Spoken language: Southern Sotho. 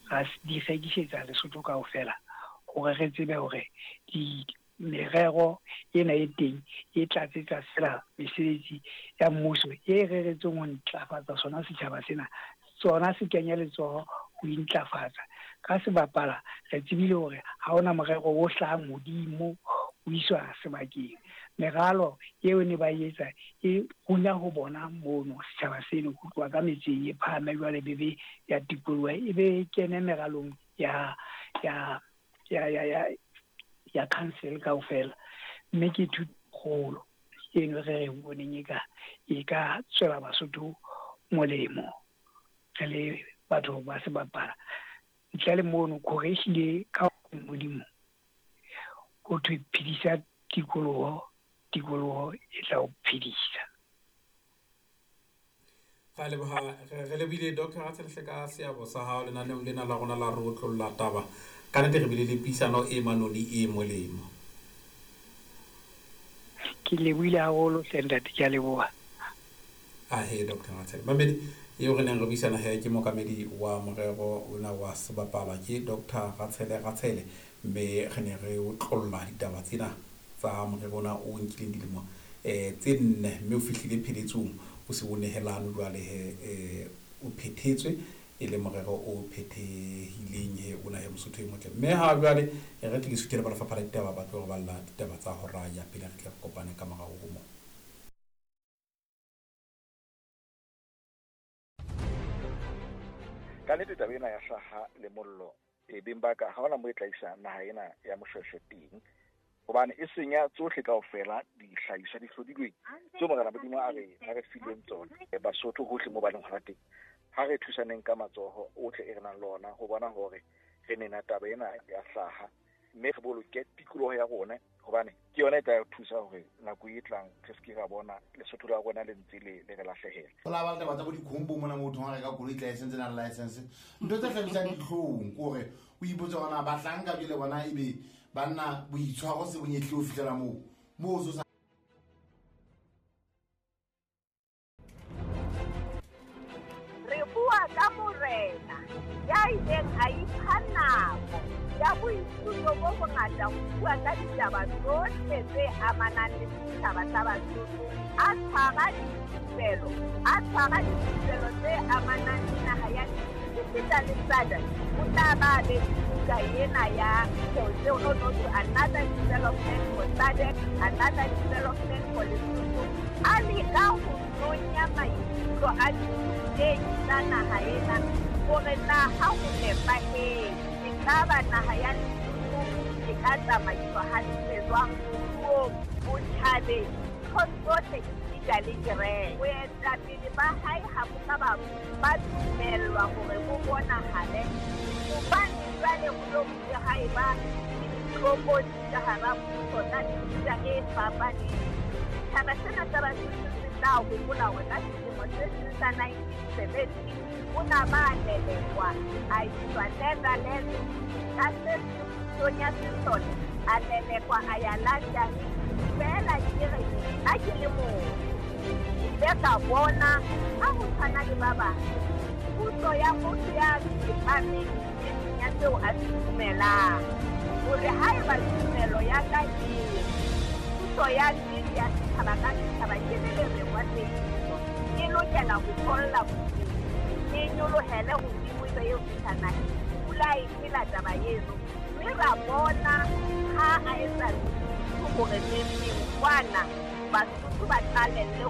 Ra di rekisetsa Lesotho kaofela hore re tsebe hore di merero ena e teng e tlatsetsa fela mesebetsi ya mmuso e reretsweng ho ntlafatsa sona setjhaba sena, tsona se kenya letsoho ho intlafatsa ka sebapala. Re tsebile hore ha hona morero o hlahang hodimo o iswa sebakeng. Meralo eo ne ba etsa e runya ho bona mono setjhaba seno ho tloha ka metseng e phahame, jwale bebe ya tikoloho e be kene meralong ya council kaofela, mme ke thuto kgolo eno re re boneng e ka tswela Basotho molemo re le batho ba sebapala. Ntle le mono khore ehlile ka Modimo ho thwe phedisa tikoloho, tikoloho e tla o phedisa. Ra leboha, re lebile Dr Ratshelhle ka seabo sa hao lenaneong lena la rona la re otlolla taba. Ka nnete re bile le puisano e manoni e molemo. Ke lebohile haholo hle ntate, ke a leboha. Ahe Dr Ratshele mamedi eo re neng re buisana he ke mookamedi wa morero ona wa sebapala ke Dr Ratshele Ratshele, mme re ne re otlolla ditaba tsena tsa morero ona o nkileng dilemo tse 4, mme o fihlile pheletsong, o se o nehelano jwale he, o phethetswe e le morero o phethehileng he ona he Mosotho e motle. Mme ha jwale re tle ke suthele ba lefapha la ditaba ba tlo re balla ditaba tsa hora ya pele, re tle re kopane ka morao ho moo. Ka nnete taba ena ya hlaha le mollo e beng ba ka ha hona mo e tla isa naha ena ya Moshweshwe teng, hobane e senya tsohle kaofela dihlahiswa di hlodilweng tseo Morena Modimo a re fileng tsona. Basotho hohle mo ba leng hona teng, ha re thusaneng ka matsoho ohle e re nang le ona ho bona hore re nena taba ena ya hlaha, mme re boloke tikoloho ya rona, hobane ke yona e tla re thusa hore nako e tlang re se ke ra bona Lesotho la rona le ntse le re lahlehela. Ho la ba le taba tsa bo dikhombo mona mo thong a reka koloi license na license, ntho tse hlabisang dihlong ke hore o ipotse hore na bahlanka jwale bona ebe banna boitshwaro se bonyetlile ho fihlela moo moo so. Re bua ka morena ya ileng a ipha nako ya boithuto bo bongata ho bua ka ditaba tsohle tse amanang le setjhaba sa Basotho, a tshwara dithupelo tse amanang le naha ya esita le SADC. O tla ba be buka ena ya no to another development for SADC, another development for Lesotho. A leka ho nonya maikutlo a dithutehi tsa naha ena hore na ha ho nepahetse ekaba naha ya Lesotho e ka tsamaiswa hantle jwang moruong, botjhabeng, nthong tsohle esita le kereke. Boetapele ba hae ha bo ka ba dumellwa hore bo bonahale, hobane jwale ho lo bile ha eba le ditlokotsi ka hara mmuso tsa mefuta e fapaneng. Setjhaba sena sa Basotho se tla hopola hore ka selemo se seng sa 1970 o na ba lelekwa a iswa Netherlands, ka se pusong ya sesole a lelekwa a ya London. Feela ke re nna ke le motho, ke ile ka bona ha ho tshwana le ba bang puso ya motho ya tsepameng e seng ya seo a se dumelang, hore haeba tumelo ya ka e puso ya nnete ya setjhaba ka setjhaba ke le lerengwa tsebiso, e lokela ho tholla bodimo, e nyolohele hodimo e be eo fihla naheng. Pula e phela taba eno, mme ra bona ha a etsa hore neng kwana Basotho ba qalelle ho